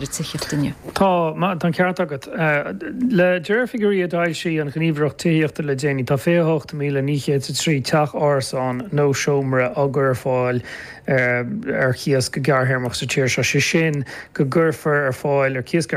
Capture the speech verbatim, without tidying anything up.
tithíocht inniu. Tá tá an ceart agat le deir figiúirí a d'fhoilsigh an Ghníomhaireacht Tithíochta le déanaí tá fiche hocht míle naoi chéad a trí teach árasán nó seomra á gcur ar fáil ar chíos go gearrthéarmach sa tír seo sé sin go gcuirfear ar fáil ar cíos